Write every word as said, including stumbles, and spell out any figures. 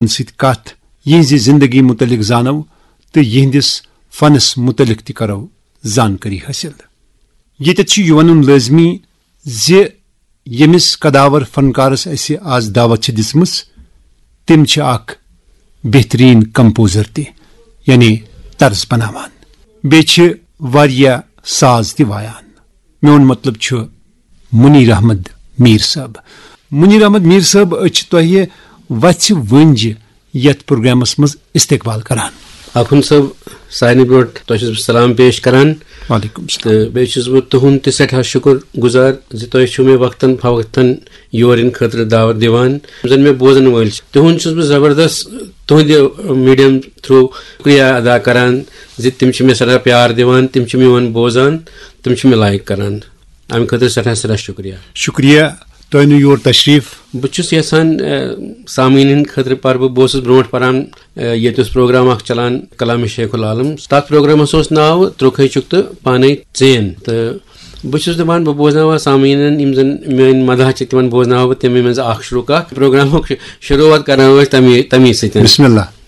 سۭتۍ کتھ، یہنزِ زندگی متعلق زانو تہٕ یہندس فنس متعلق تہِ کرو زانکٲری حٲصِل۔ ییٚتٮ۪تھ چھُ یہِ ونُن لٲزمی زِ ییٚمِس قداور فنکارس اسہِ آز دعوت چھِ دِژمٕژ، تِم چھِ اکھ بہترین کمپوزر تہِ، یعنی طرز بناوان۔ بیٚیہِ چھِ واریاہ ساز تہِ وایان۔ میون مطلب چھُ منیر احمد میر صٲب۔ منیر احمد میر صٲب، أسۍ چھِ تۄہہِ وژھِ وٲنجہِ یتھ پروگرامس منٛز استقبال کران۔ آخوند صٲب، سارنٕے برونٛٹھ تۄہہِ چھُس بہٕ سلام پیش کران۔ وعلیکم السلام۔ تہٕ بیٚیہِ چھُس بہٕ تُہُنٛد تہِ سٮ۪ٹھاہ شُکُر گُزار زِ تۄہہِ چھُو مےٚ وقتاً فوقتاً یور یِنہٕ خٲطرٕ دعوت دِوان۔ یِم زَن مےٚ بوزَن وٲلۍ چھِ، تِہُنٛد چھُس بہٕ زبردست تُہٕنٛدِ میٖڈیم تھرٛوٗ شُکریہ ادا کران زِ تِم چھِ مےٚ سٮ۪ٹھاہ پیار دِوان، تِم چھِ میون بوزان، تِم چھِ مےٚ لایک کران۔ اَمہِ خٲطرٕ سٮ۪ٹھاہ سٮ۪ٹھاہ شُکریہ۔ شُکریہ تۄہہِ نیوٗ یور تشریف۔ بہٕ چھُس یژھان، اہ، سامعیٖنَن ہٕنٛدِ خٲطرٕ پَرٕ بہٕ، بہٕ اوسُس برونٛٹھ پَران، اہ، ییٚتہِ اوس پروگرام اَکھ چَلان کلامِ شیخ العالم، تَتھ پروگرامَس اوس ناو ترٛوکھَے چُک تہٕ پانَے ژین۔ تہٕ بہٕ چھُس دَپان، بہٕ بوزناوہا سامعیٖنَن، یِم زَن میٛٲنۍ مداح چھِ، تِمَن بوزناوہا بہٕ تَمے منٛز اَکھ شروٗع، اَکھ پروگرامُک شروٗعات کَرناوو أسۍ تَمی تَمی سۭتۍ۔ بسم اللہ۔